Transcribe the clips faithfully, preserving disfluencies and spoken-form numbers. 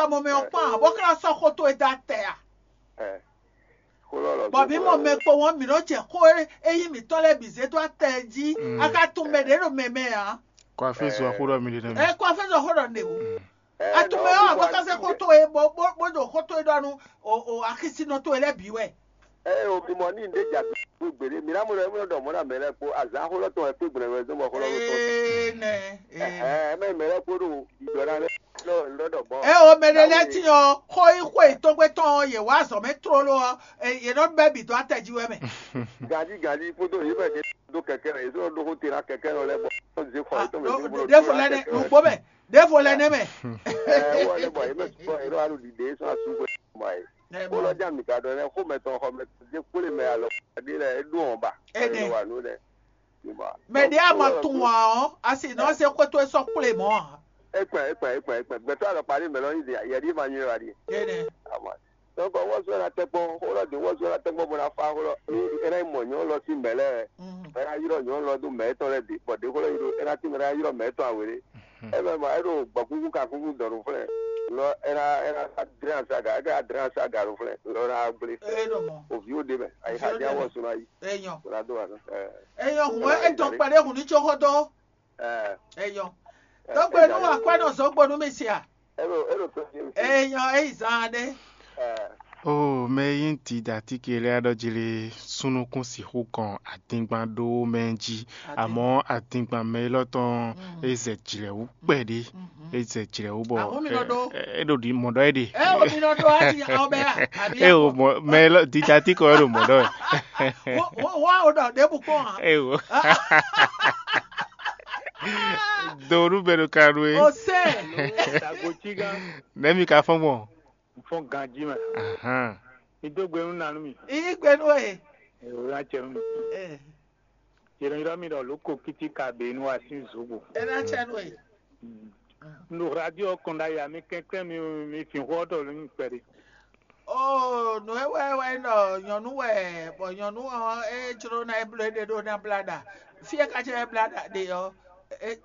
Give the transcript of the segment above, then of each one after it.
Mɔ mɛ ɔ́ kpán ǎ, bó ka sɔ́ xó towe dó atɛ a? Bɔ mǐ mɔ mɛ kpowun ɔ́, mǐ nɔ jɛ xó e nyí mǐtɔn lɛ́ɛ bǐ zé dó atɛ jí. A ka tunwun mɛ ɖě ɖo mɛ mɛ ǎ. Kɔ afé zɔ xó ɖɔ mi ɖe nɛ mi. Ɛ kɔ afé zɔ xó ɖɔ nɛ o. A tunwun mɛ ɔ́, a bó ka zé xó towe bó bó bó ɖo xó towe ɖɔ nú o o axisínɔ towe lɛ́ɛ bǐ wɛ. Ɛ o, mi mɔ ní ɖé jà gbé gbéɖé, mi ná mɔ ɖɔ émí nɔ ɖɔ mɔ̌ ná mɛ lɛ́ɛ kpó azǎn xó lɔ tɔn wɛ kpé gbɔn wɛ zɔn bɔ xó lɔ tɔn. Ee nɛ. Ɛhɛn, mɛ mɛ lɛ́ɛ kpó ɖo ɖiɖɔ ná lɛ́ɛ lɔ lɔ ɖɔ bɔ. Ɛ o, mɛ ɖé lɛ́ɛ tín ɔ́, xó yí xó yětɔn gbé tɔn ɔ́, yě wá azɔ̌ mɛ tlóló ɔ́, yě nɔ bɛ́ bǐ dó atɛ jí wɛ mɛ. Gají gají kpódó yě mɛ ɖé dó kɛkɛ mɛ, yě sɔ́ ɖó xó te ná kɛkɛ lɔ lɛ́ɛ bɔ zé xɔ yětɔn mɛ. Ɖěvo lɛ́ɛ nɛ nǔgbó mɛ, ɖěvo lɛ́ɛ nɛ mɛ. Ɛ wɔ lɛ bɔ yě mɛ sukpɔ yě ɖo alu ɖiɖe sɔ́ asú xwe mɔ ayé. Kó lɔ jam nika ɖɔ nɛ xó mɛ tɔn xɔ mɛ dé kplé mɛ alɔ ɖé lɛ é ɖó ɔn ba. Ɛnɛ. Wa nú lɛ. Mɛ ɖé a ma tunwun ǎ ɔ́, a sì nɔ se xwé towe sɔ́ kplé mɔ̌ ǎ. Ekpɛ ekpɛ ekpɛ ekpɛ gbɛtɔ alɔkpa ɖé mɛ lɔ nyi de yɛ ɖi ma nyuɛ wa ɖi. Ɛnɛ. Ama. Donc wɔzɔ la tɛgbɔ xó lɔ de wɔzɔ la tɛgbɔ bɔ na fa xó lɔ. Ni ɛna mɔ nyɔ lɔ si mɛ lɛ. Ɛna yɔrɔ nyɔ lɔ do mɛ tɔ lɛ de bɔ de xó lɔ yi do ɛna ti mɛ ɛna yɔrɔ mɛ tɔ awere. Eme ma eɖo gbɔkuku kakuku dɔn ɖo flɛ. Lɔ ɛna ɛna adrɛn asaga eke adrɛn asaga ɖo flɛ lɔ na gble. Ee ɖo mɔ. Oviwo de mɛ ayi xa ja wɔ suna yi. Eyɔn. Suna do wa nɔ. Eyɔn hun etɔn kpɛɖe hun ní tso xɔ dɔ. Eyɔn. Dɔgbe nu wa kpɛ nɔ zɔgbo nu mi sia. Eɖo eɖo to ti. Eyɔn eyi zan ɖe. O mɛ yi ŋti da tike lɛ aɖɔ jili sunukun sixú kɔn adingban ɖó mɛ jí. Amɔ̌ adingban mɛ élɔ́ tɔn é zɛ jlɛ̌ wú kpɛɖé. É zɛ jlɛ̌ wú bɔ é ɖo ɖi mɔ̌ ɖɔ é ɖe. Ɛ o mi nɔ ɖó ati awo bɛ ya. Ɛ o mɔ mɛ élɔ́ dita tí kɔ é ɖo mɔ̌ ɖɔ é. Wọ́n wọ́n wọ́n ò dọ̀ débù kpọ́n hàn. Ɛ o. Do ɖu bɛ ɖo ka ɖu é. O sɛ. Nɛ̌ mi ka fɔ́n gbɔn? Fɔ́n ganjí mɛ. Ahán. Mi dó gbe nú nanú mi. Yí gbe nú e. Èrò ná jẹ nú mi. Ɛ. Yɛrɛyɛrɛ mi ɖɔ lóko kiti ka be nu asi zogo. E ná jẹ nú e. N ɖo radio kɔn ɖ'ayǐ a mi kɛnklɛ́n mi mi fin xó ɔ́ ɖɔ nú mi kpɛɖé. Oo, nǔ e wɛ wɛ nɔ nyɔ̌nu wɛ, bɔ nyɔ̌nu ɔ́ é jló ná é bló éɖée ɖó ná blá ɖa. Fí e ka jɛ é blá ɖa ɖe ɔ́, é-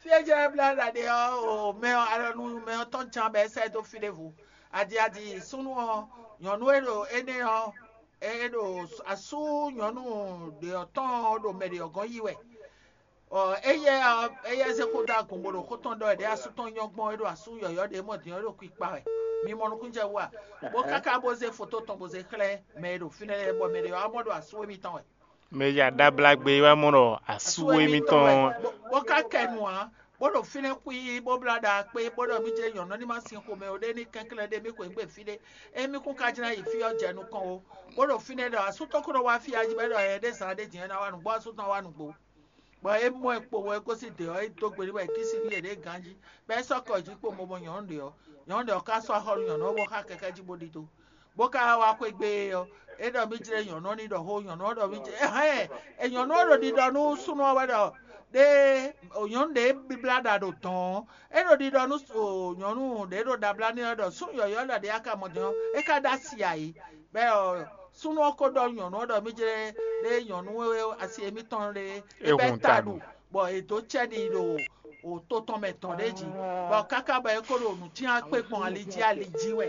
fí e jɛ é blá ɖa ɖe ɔ́, o mɛ ɔ́ alɔ nú mɛ ɔ́ tɔn jan bɔ é sɛ́ dó fí ɖěvo. Adi adi súnnu ɔ́, nyɔ̌nu e ɖo énɛ́ ɔ́, é ɖo asú nyɔ̌nu ɖě ɔ́ tɔn ɔ́ ɖo mɛ ɖě ɔ́ gɔ́n yí wɛ. Ɔ, éyɛ́ ɔ́, éyɛ́ zé xó dó agun bó ɖo xó tɔn ɖɔ wɛ ɖě asú tɔn nyɔ́ gbɔn é ɖo asú yɔ̌yɔ́ ɖě mɔ din ɔ́ é ɖo kpikpa wɛ. Mi mɔ nukúnnú jɛ wú a? Bó káká bó zé foto tɔn bó zé xlɛ́ mɛ e ɖo fínɛ́ lɛ́ɛ bɔ mɛ ɖě ɔ́ wá mɔ ɖɔ asú émítɔn wɛ. Mɛ ya ɖó abla gbé wá mɔ ɖɔ asú émítɔn. Bó ká kɛ nu ǎ, bó ɖo fínɛ́ xwí bó blá ɖa kpé bó ɖɔ mí jɛ nyɔ̌nu ní ma sin xomɛ ó ɖé ní kɛnklɛ́n ɖé mí xweyǐgbe fí ɖé. Émí kún ka jlɛ́n yi fí ɔ́ jɛ nukɔn ó, bó ɖo fínɛ́ ɖɔ asú tɔn kó nɔ wá fí a jí bɔ é ɖɔ ɛ ɖé zǎn ɖé din é ná wá nǔgbó asú tɔn wá nǔgbó. Bɔ é mɔ ɛ kpo wɛ é gosín dě ɔ́, é dó gbe n'i wɛ é kísi n'i yě ɖě ganjí, bɔ é sɔ́ kɔ jí kpo mɔ mɔ nyɔ̌nu ɖě ɔ́. Nyɔ̌nu ɖě ɔ́ ka sɔ́ axɔ́ nú nyɔ̌nu ɔ́ bó xá kɛkɛ́ jí bó ɖidó, bó ka wá xwé gbe é ɔ́, é ɖɔ mí jlé nyɔ̌nu ɔ́ ní ɖɔ xó, nyɔ̌nu ɔ́ ɖɔ mí jlé hɛn, è nyɔ̌nu ɔ́ ɖo ɖiɖɔ nú súnnu ɔ́ wɛ ɖɔ ɖé nyɔ̌nu ɖě bíblá ɖa ɖo dɔ̌n ɔ́, é ɖo ɖiɖɔ nú nyɔ̌nu ɖě ɖo ɖablá n'i ɔ́ ɖɔ súnnu yɔ̌yɔ́ ɖɔ ɖě a ka mɔ din ɔ́, é ka ɖó asi ǎ é. Bɔ súnnu ɔ́ ko ɖɔ nyɔ̌nu ɔ́ ɖɔ mí jlé ɖé nyɔ̌nu e asi émítɔn lé é bɛ́ ta ɖu, bɔ è dǒ cɛ́ n'i ɖo to tɔn mɛ tɔn ɖé jí, bɔ káká bɔ é ko ɖo nǔ cyán kpé gbɔn ali jí ali jí wɛ.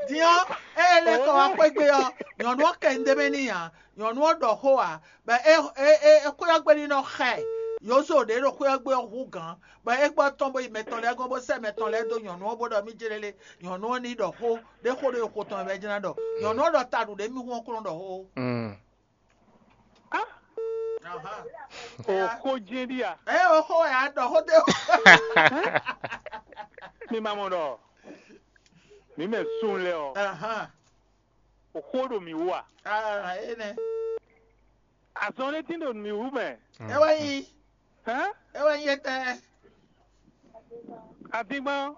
Din ɔ́, ée é lɛ́ kɔ wá xwé gbe ɔ́, nyɔ̌nu ɔ́ kɛ nu d'é mɛ n'i ǎ; nyɔ̌nu ɔ́ ɖɔ xó ǎ, bɔ é é é é xwé ɔ́ gbe ní nɔ xa ɛ. Yǒzo ɖě ɖo xwé ɔ́ gbe ɔ́ hú gǎn, bɔ é gbɔ tɔn bó yi mɛ tɔn lɛ́ɛ gɔ́n bó sɛ́ mɛ tɔn lɛ́ɛ dó nyɔ̌nu ɔ́ bó ɖɔ mí jlé lé. Nyɔ̌nu ɔ́ ní ɖɔ xó ɖé xó ɖé xo tɔn wɛ jɛ́n ná ɖɔ. Nyɔ̌nu ɔ́ ɖɔ ta ɖu ɖě mì hún ɔ́ kplɔ́n ɖɔ xó. Oxó jɛ́n ɖi a? Ɛ oxó wɛ a ɖɔ xó dé. Mi ma mɔ ɖɔ mi mɛ sun lɛ ɔ, oxó ɖo mì wú a? Aa, é nɛ. Azɔn ɖé tín ɖo mì wú mɛ. É wɛ nyí. Hɛn? É wɛ nyí étɛ́. Adingban.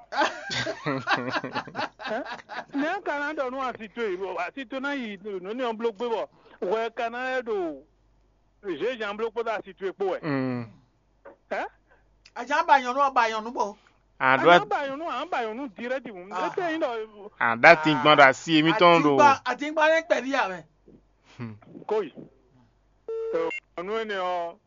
Nɛ̌ ka ná ɖɔ nú asi towe? Asi towe ná yi nǔ ní ɔ́ bló gbé bɔ hwɛ ka ná lɛ́ ɖo zězán bló kpódó asi towe kpó wɛ. Hɛn? Azǎn ba nyɔ̌nu ɔ́ ba nyɔ̌nu bo. Àɖó Àná ba nyɔ̌nu, àná ba nyɔ̌nu direct hǔn. Étɛ́ nyí ɖɔ àɖó atingban ɖo asi émítɔn ɖo. Atingban atingban lɛ́ kpɛví ǎ mɛ. Kóyi. Nyɔ̌nu énɛ́ ɔ́,